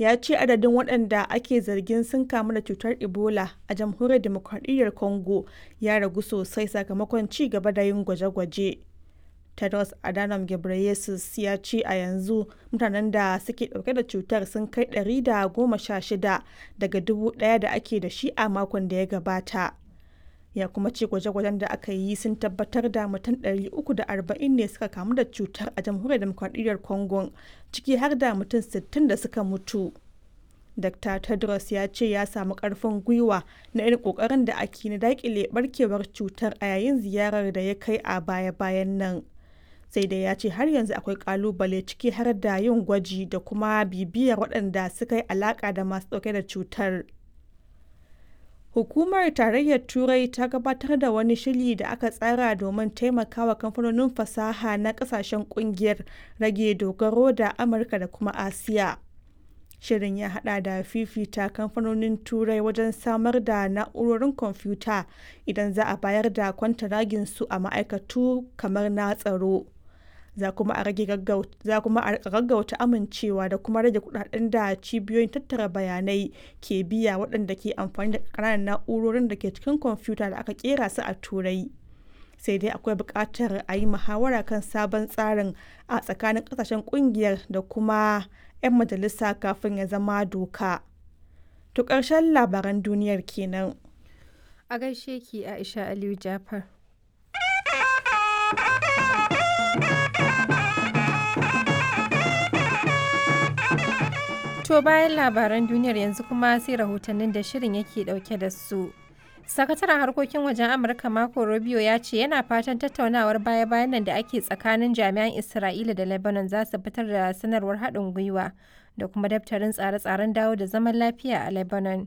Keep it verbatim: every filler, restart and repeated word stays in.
ya ce adadin waɗanda ake zargin sun kamu da cutar Ebola a Jamhuriyar Dimokuraɗiyyar Congo ya ragu sosai sakamakon ci gaba da yin gwaje-gwaje. Tedros Adhanom Ghebreyesus ya ce a yanzu mutanen da suke ɗauke da cutar sun kai ɗari da goma sha shida daga dubu ɗaya da ake da shi a makon da ya gabata. Ya kuma ce gwaje-gwajen da aka yi sun tabbatar da mutum ɗari uku da arba'in ne suka kamu da cutar a Jamhuriyar Dimokuraɗiyyar Congo, ciki har da mutum sittin da suka mutu. Dokta Tedros ya ce ya samu ƙarfin gwiwa na irin ƙoƙarin da ake na daƙile ɓarkewar cutar a yayin ziyarar da ya kai a baya-bayan nan. Sai dai ya ce har yanzu akwai ƙalubale, ciki har da yin gwaji da kuma bibiyar waɗanda suka yi alaƙa da masu ɗauke da cutar. Hukumar Tarayyar Turai ta gabatar da wani shiri da aka tsara domin taimakawa kamfanonin fasaha na kasashen kungiyar rage dogaro da Amurka da kuma Asiya. Shirin ya hada da fifita kamfanonin Turai wajen samar da na'urorin kwamfuta idan za a bayar da kwantaraginsu a ma'aikatu kamar na tsaro. Za kuma a rika gaggauta amincewa da kuma rage kudaden da cibiyoyin tattara bayanai ke biya waɗanda ke amfani da ƙananan na'urorin da ke cikin kwamfuta da aka kera su a Turai. Sai dai akwai buƙatar a yi muhawara kan sabon tsarin a tsakanin ƙasashen ƙungiyar da kuma 'yan majalisa kafin ya zama doka. To ƙarshen labaran duniyar kenan. A gaishe ki, Aisha Aliyu Jafar. To, bayan labaran duniyar yanzu kuma sai rahotannin da shirin yake dauke da su. Sakataren harkokin wajen Amurka Marco Rubio ya ce yana fatan tattaunawar baya-bayan nan da ake tsakanin jami'an Isra'ila da Lebanon za su fitar da sanarwar haɗin gwiwa da kuma daftarin tsare-tsaren dawo da zaman lafiya a Lebanon.